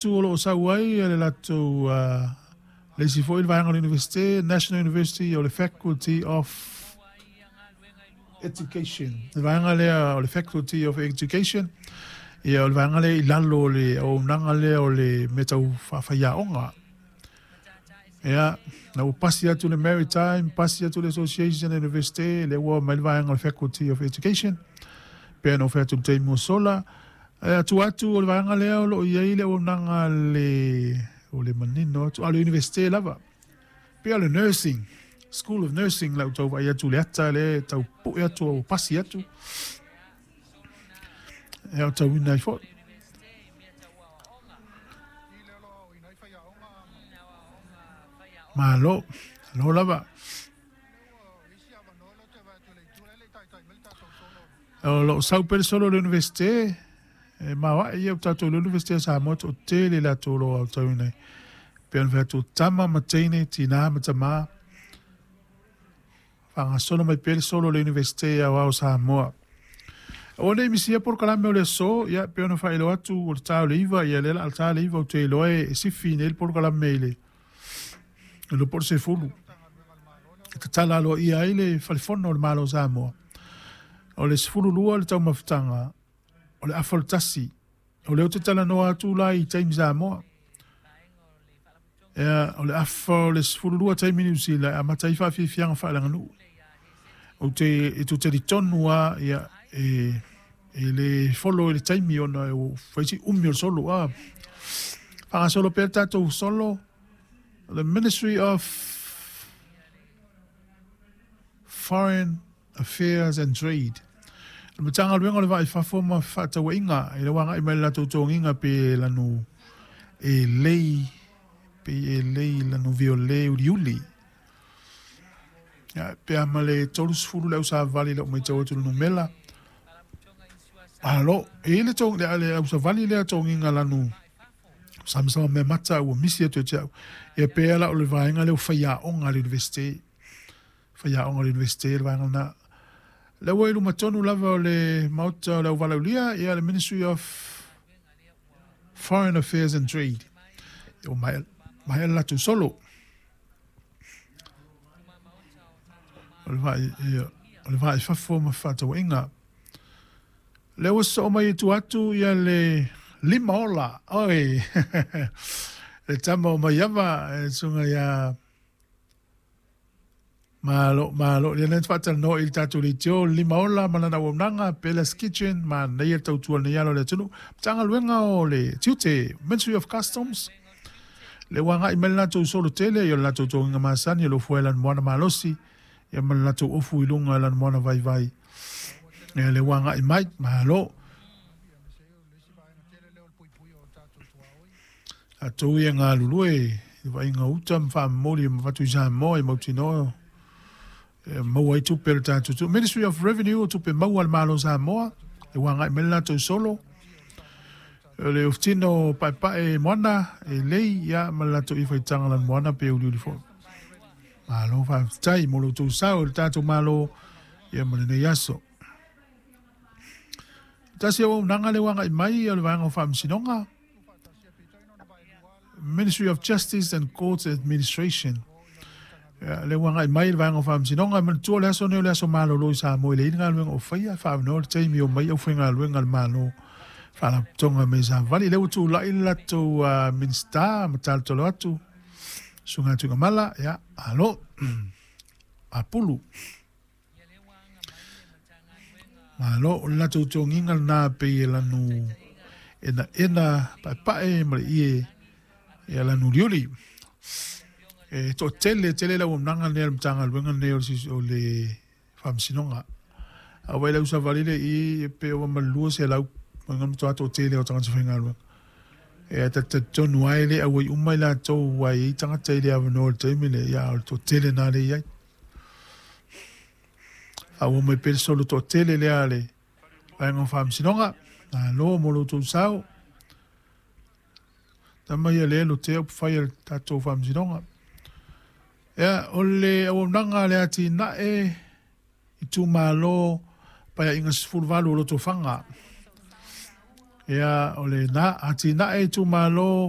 O lo o sau ai le latou le isi foi vaega o le Universite, National University, o le Faculty of Education. Le vaega lea o le Faculty of Education, ia o le vaega lea i lalo o le auaunaga lea o le mea tau faafaiaoga. Ia, na ua pasi atu le Maritime, pasi atu le Association Universite, lea ua mai le vaega o le Faculty of Education, pe na fai atu le taimi ua sola. E atu atu o le vaega lea o lo o i ai le auaunaga le o le manino atu, a o le Universite lava. Pei o le Nursing, School of Nursing lau tau vaai atu le ata le tau pue atu o pasi atu. E o tauina ai foi. Malo, alo lava. O lo o sau pea le solo o le Universite, e maoae ia o tatou le Universite o Samoa toatele latou o lo o aotauina ai. Pei ona fai atu, tama ma teine, tina ma tamā, faagasolo mai pea le solo o le Universite Aoao o Samoa. Aua ne i misia polokalame o le aso, ia pei ona faailoa atu o le ta o le 9, ia lea o le a ta le 9, ou te iloa e sifi nei le polokalame i le iloa po o le 10. E tatala aloaia ai le Falefono o le Malo o Samoa. O le 12 le taumafataga, o le afa o le 1. O lea ou te talanoa atu la i taimi Samoa. Ia, o le afa o le 12 taimi Niu Sila e amata ai faafiafiaga faaleaganuu. Ou te e tou talitonu lava, ia, e le follow i le taimi ona ua fai si umi o le solo. A faagasolo pea le tatou solo, the Ministry of Foreign Affairs and Trade. O le Matagaluega o le Vaa i Fafo ma Fefaatauaiga, e le ua agai mai le latou togiga pe lanu e lei, pe e lei lanu viole uliuli. Ia, pe a ma le 30 le ausavali lau matau atu le numera. Alo, e i le tong, le, le ausavali lea togiga lanu samasama mea mata ua misi atu e te au. Ia pe ala o le vaega lea o faiaoga a le Universite. Faiaoga o le Universite le vaega lena. Lea ua i luma tonu lava o le Maota o le Auvalaulia, ia le Ministry of Foreign Affairs and Trade. Ia ua maea, maea le latou solo. O le vai, ia, o le vai fafo ma fefaatauaiga. Lea ua sosoo mai i tua atu ia le lima ola, oi, le tama o Maiava, e susuga ia Malo, malo. Ia lea na faatalanoa i le tatou leitio, le lima ola ma lana auaunaga, Bella's Kitchen, manaia le tautua i lenei ala o le atunuu. Matagaluega o le Tiute, Ministry of Customs, lea ua agai mai le latou solo tele, ia o le latou togiga masani, o lo o fua i lana moana malosi, ia ma le latou ofu i luga i lana moana vaivai. Ia lea ua agai mai, malo. Tatou ia galulue i vaaiga uta ma faamomoli ma avatu i Samoa i mautinoa e maua ai tupe a le tatou atunuu. Ministry of Revenue, o tupe maua a le Malo o Samoa, e ua agai mai le latou solo. O le ofutino paepae moana e lei ia ma le latou ifaitaga lanu moana pe uliuli foi. Malo faafetai mo lo outou sao i le tatou Malo ia ma lenei aso. Tasi auaunaga lea ua agai mai o le vaega o Faamasinoga, Ministry of Justice and Courts Administration. Ia, lea ua agai mai le vaega o Faamasinoga. E manatua le aso nei o le aso malolo i Samoa e leai ni galuega o faia, faavanoa le taimi o mai aufaigaluega a le Malo Faalapotopotoga mai Savali. Lea ua tulai le latou Minisita ma talotalo atu, Susuga Tuigamala, ia, alo, apulu. Malo, o le latou togiga lena pei e lanu enaena paepae ma le ie e lanu uliuli. E toatele tele le auaunaga lenei a le Matagaluega lenei o le Faamasinoga. A vaai le ausavali le i e pe ova ma le 200 ma matua toatele o tagata faigaluega. E talitonu lava e le auai uma i latou aua e i ai tagata e le avanoa i le taimi lea, ia a o le toatele lena lea e i ai. Faaauau mai pea le solo toatele lea a le Vaega o Faamasinoga. Malo mo lo outou sao. Tama ia lea lotea upufai a le tatou Faamasinoga. Ia, o le auaunaga a le atinae itumalo Paeaiga 18 o Lotofaga. Ia, o lena atinae itumalo.